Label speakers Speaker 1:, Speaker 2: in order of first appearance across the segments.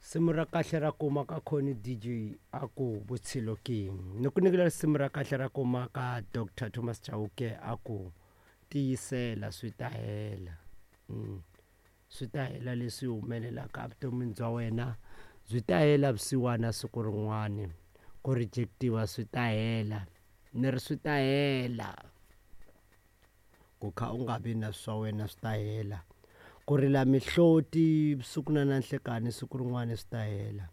Speaker 1: Risimu ra kahle ra kuma ka Connie DJ a ku Vutshilo King. Ni ku nyikela risimu ra kahle ra kuma ka Dr Thomas Chauke a ku Tiyisela swi ta hela. Mm. Swi ta hela leswi humelelaka evuton'wini bya wena byi ta hela vusiwana siku rin'wani. Ku reject-iwa swi ta hela. Ni ri swi ta hela. Ku kha u nga vi na swa wena swi ta hela. Ku rila mihloti vusiku na na nhlekani siku rin'wana swi ta hela.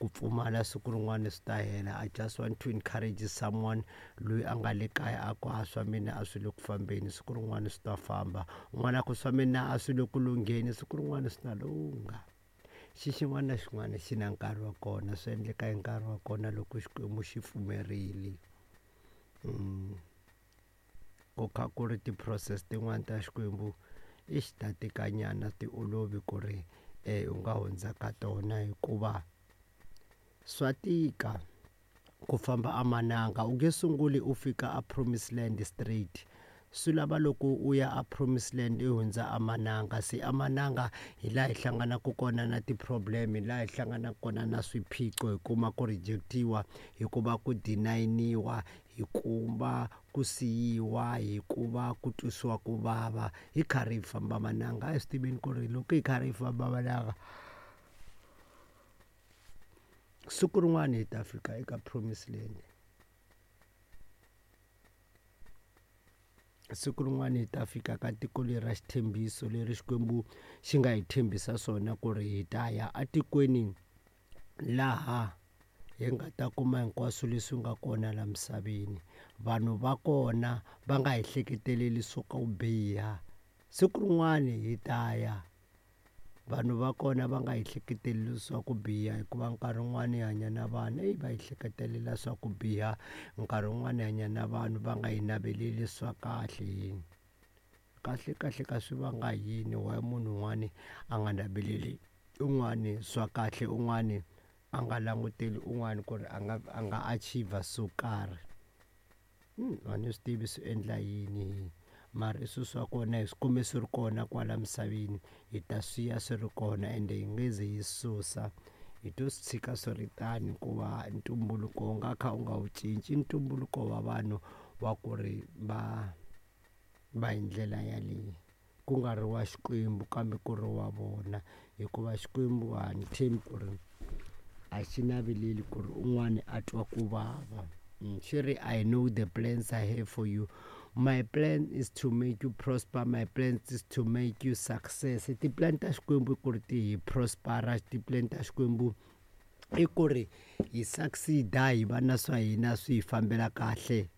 Speaker 1: Ku pfumala siku rin'wana swi ta hela. I just want to encourage someone loyi a nga le kaya a ku a swa mina a swi le ku fambeni siku rin'wana swi ta famba. Un'wana a ku swa mina a swi le ku lungheni siku rin'wana swi ta lungha. Xi xin'wana na xin'wana xi na nkarhi wa kona swi endleka hi nkarhi wa kona loko Xikwembu xi pfumerile. Mm. Ku kha ku ri ti-process tin'wani ta Xikwembu i xi ta tikanyana ti olovi ku ri u nga hundza ka tona hikuva swa tika ku famba a mananga u nge sunguli u fika a promise land straight swi lava loko u ya a promise land i hundza a mananga se a mananga hi laha hi hlanganaka kona na ti-problem hi laha hi hlanganaka kona na swiphiqo hi kuma ku reject-iwa hikuva ku deny-niwa Hikuva ku siyiwa, hikuva ku twisiwa ku vava, hi karhi hi famba mananga. A hi swi tiveni ku ri loko hi karhi hi famba mananga siku rin'wana hi ta fika eka promise land. Siku rin'wana hi ta fika ka tiko leri ra xitshembiso leri Xikwembu xi nga hi tshembisa swona ku ri hi ta ya etikweni laha hi nga ta kuma hinkwaswo leswi nga kona la misaveni vanhu va kona va nga hi hleketeleli swo ka ku biha siku rin'wani hi ta ya vanhu va kona va nga hi hleketeleli swa ku biha hikuva nkarhi wun'wani hi hanya na vanhu eyi va hi hleketelela swa ku biha nkarhi wun'wani hi hanya na vanhu va nga hi naveleli swa kahle yini kahle kahle ka swi vanga yini why munhu un'wani a nga naveleli un'wani swa kahle un'wani a nga languteli un'wana ku ri a nga a nga achiever swo karhi a ni swi tivi swi endla yini mara i swilo swa kona hi swi kume swi ri kona kwala misaveni hi ta swi ya swi ri kona ende hi nge ze hi susa hi to swi tshika swi ri tani hikuva ntumbuluko wu nga kha u nga wu cinci i ntumbuluko wa vanhu wa ku ri va va hi ndlela yaleyo. Ku nga ri wa Xikwembu kambe ku ri wa vona hikuva Xikwembu a ni tshembi ku ri a xi naveleli ku ri un'wana a twa ku vava xi ri I know the plans I have for you my plan is to make you prosper my plan is to make you success ti-plan ta Xikwembu i ku ri ti hi prosper-a ti-plan ta Xikwembu i ku ri hi succeed-a hi va na swa hina swi hi fambela kahle.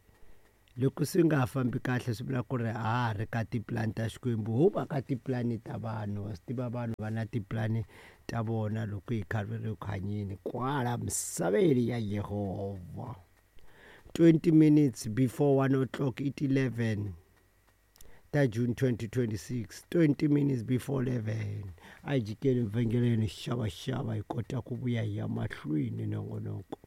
Speaker 1: Loko swi nga ha fambi kahle swi vula ku ri a ha ha ri ka tipulani ta Xikwembu ho va ka tipulani ta vanhu wa swi tiva vanhu va na tipulani ta vona loko hi kha ri ku hanyeni kwala misaveni ya Yehovha 20 minutes before 1 o'clock i ti-11 ta June 2026 20 minutes before 11 a hi jikeni vhengeleni xavaxava hi kota ku vuya hi ya mahlweni nongonoko.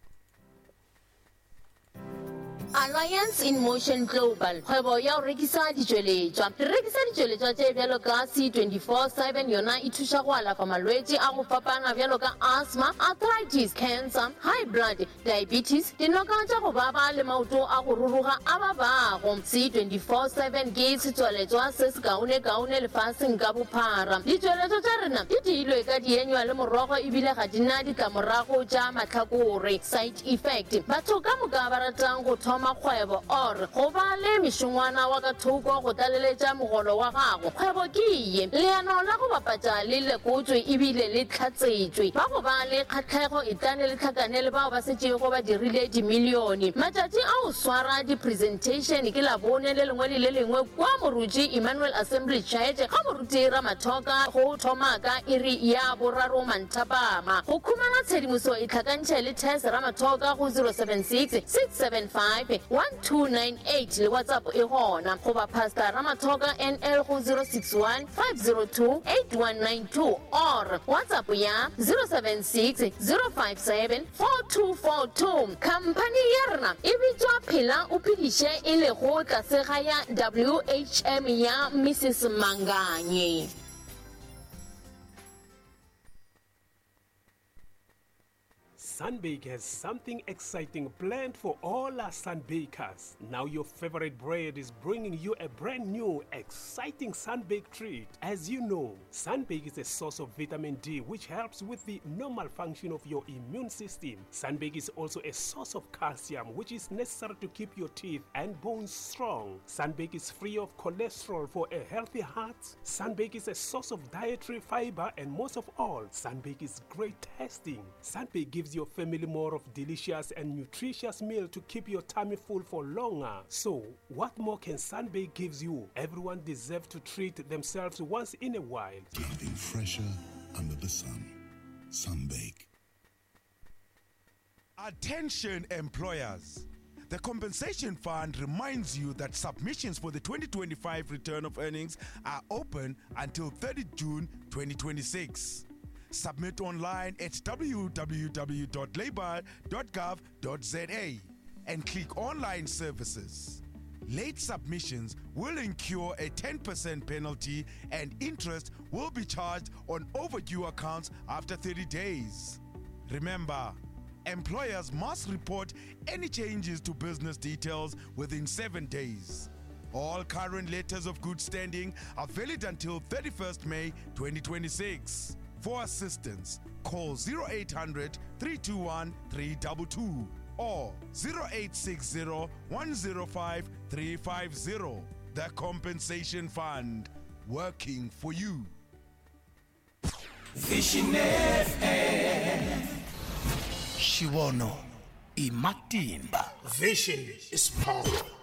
Speaker 2: Alliance in Motion Global, kgwebo ya go rekisa ditšweletšwa. Re rekisa ditšweletšwa tše bjalo ka C24 7, yona e thuša go alafa malwetši a go fapana bjalo ka asthma, arthritis, cancer, high blood, diabetes, dinoka tša go baba le maoto a go ruruga a babago. C24 7 ke setswaletšwa se sekaonekaone lefaseng ka bophara. Ditšweletšwa tša rena di diilwe ka dienywa le morogo ebile ga di na ditlamorago tša mahlakore, side Effect. Batho ka moka ba ratang go thoma kgwebo or go ba le mešongwana wa ka thoko go tlaleletša mogolo wa gago, kgwebo ke ye. Leano la go bapatša le lekotšwe ebile le hlatsetšwe. Ba go ba le kgahlego etlane le hlakane le bao ba setšego ba dirile dimilione. Matšatši a go swara di-presentation ke Labone le lengwe le le lengwe kua Moruti Emmanuel Assembly Church ga Moruti Ramathoka go thoma ka iri ya boraro manthapama. Go khumana tshedimoso itlhakantšhe le Tess Ramathoka go 076 675 1298 le WhatsApp e gona, goba Pastor Ramathoka NL go 061 502 8192 or WhatsApp ya 076 057 4242. Khamphani ya rena e bitšwa Phela o Phediše e lego tlase ga ya WHM ya Mrs Manganye.
Speaker 3: Sunbake has something exciting planned for all our sunbakers. Now your favorite bread is bringing you a brand new, exciting sunbake treat. As you know, sunbake is a source of vitamin D which helps with the normal function of your immune system. Sunbake is also a source of calcium which is necessary to keep your teeth and bones strong. Sunbake is free of cholesterol for a healthy heart. Sunbake is a source of dietary fiber and most of all, Sunbake is great tasting. Sunbake gives your family more of delicious and nutritious meal to keep your tummy full for longer. So, what more can Sunbake gives you? Everyone deserves to treat themselves once in a while.
Speaker 4: Nothing fresher under the sun. Sunbake.
Speaker 5: Attention employers. The Compensation Fund reminds you that submissions for the 2025 return of earnings are open until 30 June 2026. Submit online at www.labor.gov.za and click Online Services. Late submissions will incur a 10% penalty and interest will be charged on overdue accounts after 30 days. Remember, employers must report any changes to business details within 7 days. All current letters of good standing are valid until 31st May 2026. For assistance, call 0800 321 322 or 0860 105 350. The Compensation Fund, working for you.
Speaker 6: Vision FM. Xivono i matimba.
Speaker 7: Vision is power.